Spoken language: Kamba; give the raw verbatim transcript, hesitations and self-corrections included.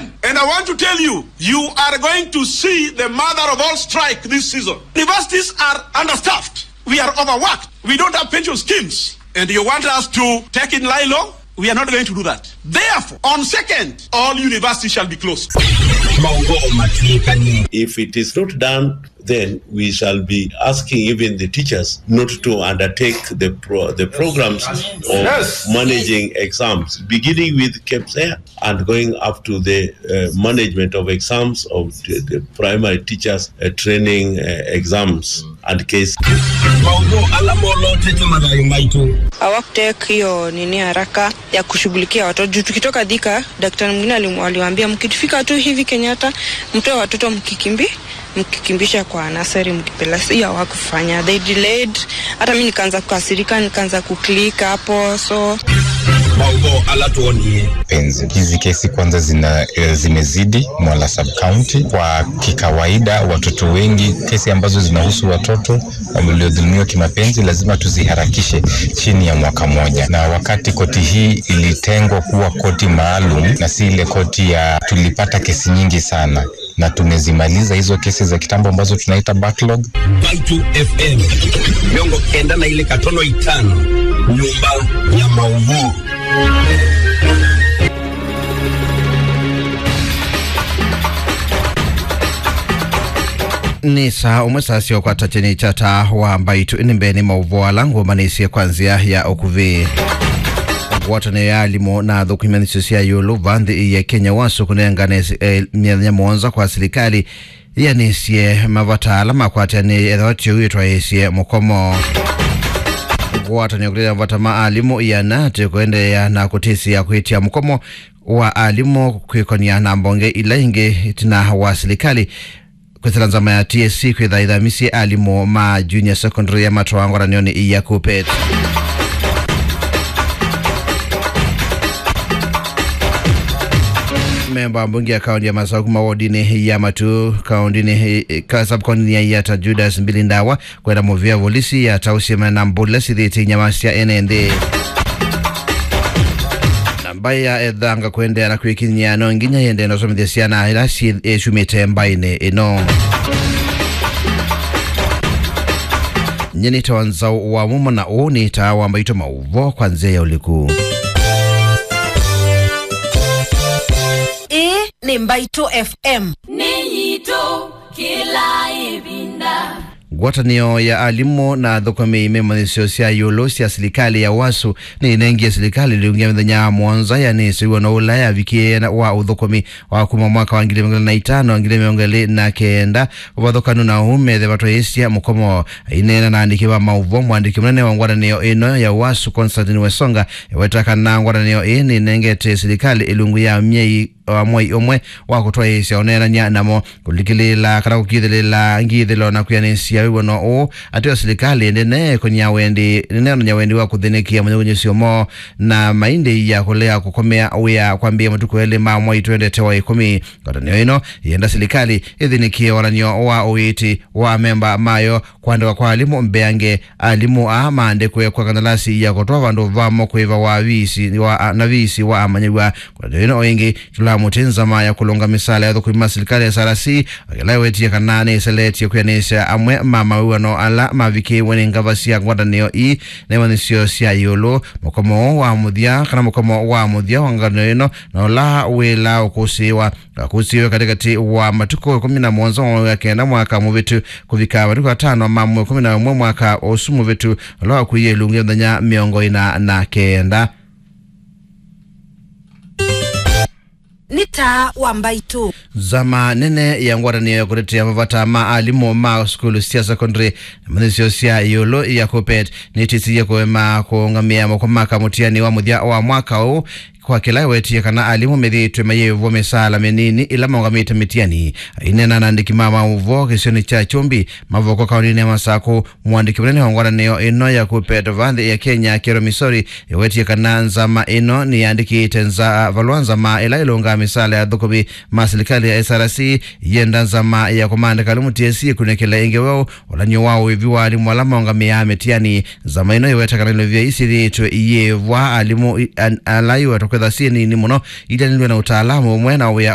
And I want to tell you, you are going to see the mother of all strike this season. Universities are understaffed. We are overworked. We don't have pension schemes. And you want us to take in lie law? We are not going to do that. Therefore, on second, all universities shall be closed. Maũvoo matw'ĩkanie. If it is not done, then we shall be asking even the teachers not to undertake the pro-, the programs of, yes, managing exams, beginning with KPSEA and going up to the, uh, management of exams of the, the primary teachers, uh, training, uh, exams and KCSE. Maũvoo ala molotete mathayũ maitũ. Hawakutake hiyo nini haraka ya kushughulikia watoto. Juu tukitoka Thika, daktari mwingine alim-, aliwaambia, "Mkifika tu hivi Kenyatta, mtoe watoto mkikimbi-, mkikimbisha kwa nursery, mkipeleka." Hiyo hawakufanya. They delayed. Hata mimi nikaanza kukasirika, nikaanza kuclick hapo, so. Maũvoo ala twonie. Penzi. Hizi kesi kwanza zina, eh, zimezidi Mwala sub county. Kwa kikawaida, watoto wengi, kesi ambazo zinahusu watoto waliodhulumiwa kimapenzi lazima tuziharakishe chini ya mwaka mmoja, na wakati koti hii ilitengwa kuwa koti maalum na si ile koti ya, tulipata kesi nyingi sana, na tumezimaliza hizo kesi za kitambo ambazo tunaita backlog. Mbaitũ F M, mĩongo kenda na ilĩ katono itano, nyũmba ya maũvoo. Nĩ saa ũmwe saa sya ũkwata kyeni kya taa wa Mbaitũ. Nĩ mbee nĩ maũvoo ala ngũmanĩsye kwa nzĩa ya ũkuvĩ. Ngwatanĩo ya alimũ na athũkũmi ma nzĩ sya ĩũlũ va nthĩ ya Kenya, wasu, kũnengane, eh, mĩthenya mũonza kwa silikalĩ yĩanĩsye mavata ala makwatĩanĩe ethĩwa ti ũu ĩtwaĩĩsye mũkomo. Ngwatanĩo kũtetea mavata ma alimũ ĩana atĩ kũendeea na kũtĩsĩa kwĩtya mũkomo wa alimũ kwĩkonia na mbonge ila ingĩ ĩtina wa silikalĩ kwĩsĩla nzama ya T S C kwĩtha ĩthamisye alimũ ma junior secondary ya matwawa ngwatanĩonĩ ya KUPPET. Memba wa mbunge ya kaunti ya Masaku kuma wodinĩ ya Matu, kauntinĩ, eh, ka sub-kauntinĩ ya Yatta, Judas Mbili Ndawa, kwenda mũvĩa volisi ya taũsye mena mbũla sithĩte inyama sya ene nthĩ. Na mbaĩ ya ethanga kũendeea na kwĩkinyĩa, no nginya yĩendee na ũsomethya syana ila syĩ-, syumĩte mbaĩnĩ ĩno. Nyie nĩtawa Nzaũ wa Mumo, na ũũ nĩ taa wa Mbaitũ maũvoo kwa nzĩa ya ũliku. Ĩĩ nĩ Mbaitũ F M. Nĩ yitũ kĩla ĩvinda. Ngwatanĩo ya alimũ na athũkũmi me manyĩsyo sya ĩũlũ sya silikalĩ ya wasu nĩĩnengie silikalĩ ĩlungu ya mĩthenya mũonza yanĩsĩw'a na ũla yavikĩe na wa ũthũkũmi wa kuma mwaka wa ngili mĩongo ĩlĩ na itano, ngili mĩongo ĩlĩ na kenda. Ũvathũkanu na ũu, methe vatwaĩĩsya mũkomo. Aineena na andĩki ma maũvoo, mwandĩki mũnene wa ngwatanĩo ĩno ya wasu, Constantine Wesonga, eweta kana ngwatanĩo ĩĩ nĩnengete silikalĩ ĩlungu ya myei wa mwei ũmwe wa kũtwaĩĩsya ũneenany'a namo, kũlikĩlĩĩla kana kũkithĩlĩĩla ngithĩlo na kwĩanĩsya wĩw'ano ũũ. Ateo silikalĩ ndĩneekony'a wendi, ndĩneonany'a wendi wa kũthĩnĩkĩa mũnyũnyũsyo moo na maindĩ ya kũlea kũkomea wĩa kwambĩĩa matukũ elĩ ma mwai twendete wa ĩkũmi. Ngwatanĩo ĩno yĩenda silikalĩ ĩthĩnĩkĩe wonany'o wa ũiiti wa amemba mayo. Kũandĩkwa kwa alimũ mbeange, alimũ aa maandĩkwe kwa kandalasi ya kũtwaa vandũ vamo kwĩva wa viisi wa, na viisi wa amanyĩw'a. Ngwatanĩo ĩno o ĩngĩ ĩtũlaa mũtĩ nzama ya kũlũnga mĩsaala ya athũkũmi ma silikalĩ ya S R C, ĩla ĩwetie kana nĩĩseletye kwĩanĩsya amwe ma mawĩw'ano ala mavikĩĩwe nĩ ngava sya ngwatanĩo ii na imanyĩsyo sya ĩũlũ. Mũkomo ũũ wa mũthya, kana mũkomo wa mũthya wa ngwatanĩo ĩno, na ũla wĩla ũkũsĩĩwa, wakũsĩĩwe katĩkatĩ wa matukũ ĩkũmi na mũonza wa mwei wa kenda mwaka mũvĩtu kũvika matukũ atano ma mwei ĩkũmi na ũmwe mwaka ũsu mũvĩtu, ũla wakuie ĩlungu ya mĩthenya mĩongo ĩna na kenda. Nĩ taa wa Mbaitũ. Nzama nene ya ngwatanĩo ya kũtetea mavata ma alimũ ma sukulu sya secondary na manyĩsyo sya ĩũlũ ya KUPPET nĩtĩsĩie kũema kũũngamĩa moko ma kamũtiani wa mũthya wa mwaka ũũ, kwa kĩla ĩwetie kana alimũ methĩĩtwe mayĩvwa mĩsaala mĩnini ĩla maũngamĩte mĩtiani. Aineena na andĩki ma maũvoo kĩsionĩ kya Kyumbi, Mavoko, kaũntĩnĩ ya Masakũ, mwandĩki mũnene wa ngwatanĩo ĩno ya KUPPET va nthĩ ya Kenya, Kero Misori, ĩwetie kana nzama ĩno nĩyandĩkĩte nza-, valũa nzama ĩla ĩlũngaa mĩsaala ya athũkũmi ma silikalĩ ya S R C, yenda nzama ya kũmaandĩka alimũ T S C ĩkunĩkĩle ĩngĩ weũ ũlany'o wa ũĩvi wa alimũ ala maũngamĩaa mĩtiani. Nzama ĩno ĩweta kana ilovia ii syĩthĩĩtwe iyĩvwa alimũ i-, an-, ala iwetwa kwĩtha syĩ nini mũno, itanĩlw'e na ũtaalamu ũmwe na wĩa